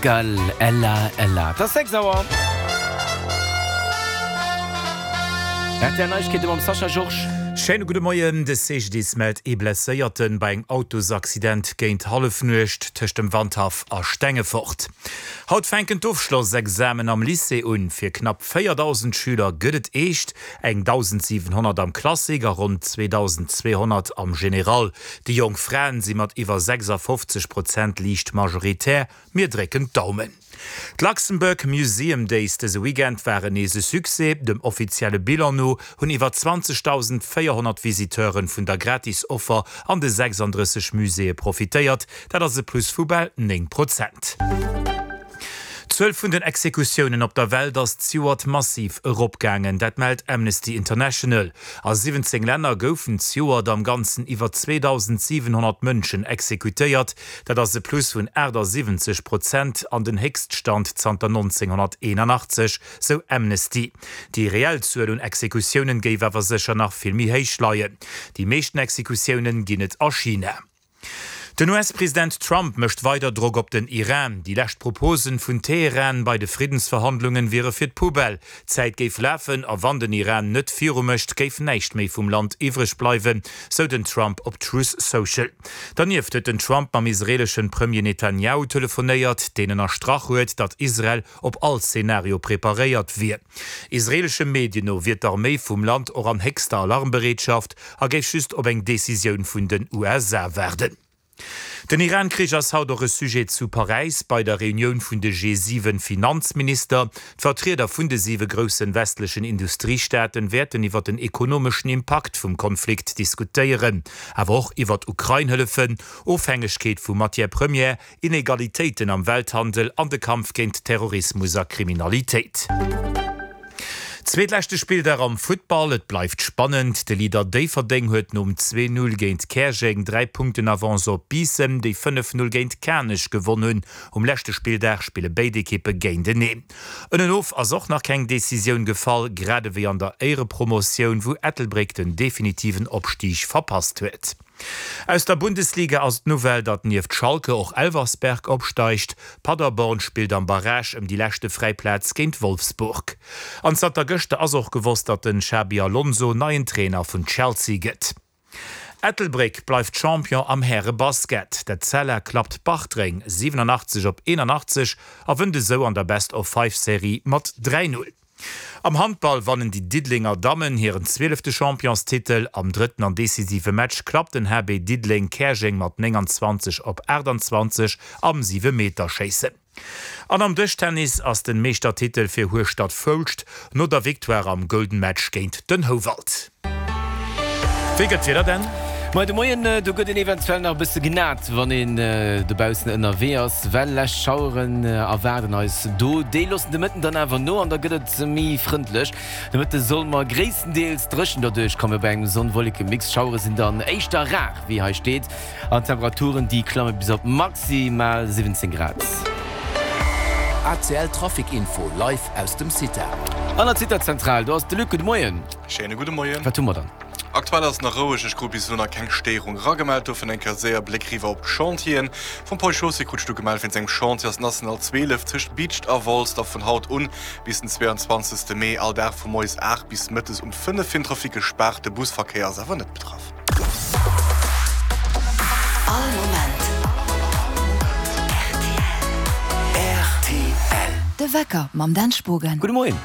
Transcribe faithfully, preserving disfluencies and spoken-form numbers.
Gall, Ella, Ella. Et ass sechs Auer. R T L Neiegkeete mam Sascha Georges. Schéine gudde Moien. De C G D I S mellt ee Blesséierte bei engem Autosaccident géint Hallefnuecht tëscht dem Wandhaff a Stengefort. Haut fänken d'Ofschlossexamen am Lycée un. Fir knapp véierdausend Schüler gëtt et eescht, eng dausendsiwenhonnert am Classique a ronn zweedausendzweehonnert am General. Déi jonk Fraen si mat iwwer sechsafofzeg Prozent liicht majoritär. Mir drécken d'Daumen. D'Luxembourg Museum Days dëse Weekend waren nees e Succès. Dem offizielle Bilan no hunn iwwer zwanzegdausendvéierhonnert Visiteure vun der Gratis-Offer an de sechsanddrësseg Muséeë profitéiert. Dat ass e Plus vu bal néng Prozent. D'Zuel vun den Exekutiounen op der Welt ass zejoert massiv eropgaangen, dat mellt Amnesty International. A siwwenzéng Länner goufen zejoert am Ganzen iwwer zweedausendsiwenhonnert Mënschen exekutéiert. Dat ass e Plus vun aachtasiwwenzeg Prozent an den Héchststand zanter nonzénghonnerteenanachtzeg, sou Amnesty. Déi reell Zuel un Exekutiounen géif awer sécher nach vill méi héich leien. Déi meeschten Exekutiounen ginn et a China. Den U S-President Trump mécht weider Drock op den Iran. Déi lescht Proposen vun Teheran bei de Friddensverhandlungen wiere fir d'Poubelle. D'Zäit géif lafen a wann den Iran net viru mécht, géif näischt méi vum Land iwwreg bleiwen, sou den Trump op Truth Social. Dernieft huet den Trump mam israeeleschen Premier Netanjahu telefonéiert, deen ënnerstrach huet, datt Israel op all Zenario preparéiert wier. Israeelesche Medien no wier d'Arméi vum Land och an héchster Alarmbereetschaft a géif just op eng Decisioun vun den U S A waarden. Den Iran-Krich ass haut och e Sujet zu Paräis bei der Reunioun vun de G siwen Finanzminister. D'Vertrieder vun de siwe groussen westlechen Industriestaaten wäerten iwwer den ekonomeschen Impakt vum Konflikt diskutéieren, awer och iwwer Ukrain-Hëllefen, Ofhängegkeet vu Matières premières, Inegalitéiten am Welthandel an de Kampf géint Terrorismus a Kriminalitéit. Zweetleschte Spilldag am Futtball, et bleift spannend. De Leader Déifferdeng huet nom zwee Null géint Käerjeng dräi Punkten Avance op Biissen, déi fënnef Null géint Kanech gewonn hunn. Um leschte Spilldag spille béid Ekippe géinteneen. Ënnenof ass och nach keng Decisioun gefall, grad ewéi an der Éierepromotioun, wou Ettelbréck den definitiven Opstig verpasst huet. Aus der Bundesliga ass d'Nouvelle, datt nieft Schalke och Elversberg opsteigt. Paderborn spillt am Barrage ëm déi leschte fräi Plaz géint Wolfsburg. An zanter gëschter ass och gewosst, datt den Xabi Alonso neien Trainer vun Chelsea gëtt. Ettelbréck bleift Champion am Häre-Basket. D'Etzella klappt Bartreng siwenanachtzeg op eenanachtzeg a wënnt esou an der Best-of-Five-Serie mat dräi Null. Am Handball wannen déi Diddelenger Dammen hiren zwielefte Championstitel. Am drëtten an decisive Match klappt den H B Diddeleng Käerjeng mat nénganzwanzeg op aachtanzwanzeg am Siwemeterschéissen. An am Dëschtennis ass den Meeschtertitel fir Hueschtert Foulscht no der Victoire am Golden Match géint den Houwald. Wéi gëtt d'Wieder denn? Moi de Moien, do gëtt een eventuell nach e bësse genat, wann een dobaussen ënnerwee ass, well lescht Schaueren erwaarden eis do. Déi loossen de Mëtten dann awer no an da gëtt et méi frëndlech. De Mëtte soll mer gréisstendeels dréchen derduerch komme bei engem Sonn-Wolleke-Mix. Schauere sinn dann éischter rar, wéi hei steet, an d'Temperaturen déi klamme bis op maximal siwwenzéng Grad. A C L Trafic Info live aus dem CITA. An der CITA-Zentral, do ass de Luc. Gudde Moien. Schéine gudde Moien. Wat hu mer dann? Aktuell ass nach roueg, ech krut bis elo nach keng Stéierung eragemellt. Dofir eng Kéier séier Bléck riwwer op d'Chantieren. Vum Pol Chaussée krut ech du gemellt, wéinst engem Chantier ass d'National zwielef tëscht Biicht a Wolz da vun haut un bis den zweeanzwanzegste Mee all Dag vu moies aacht bis mëttes um fënnef fir den Trafic gespaart. De Busverkéier ass awer net betraff. All Moment rtl. De Wecker mam Dan Spogen. Gudde Moien.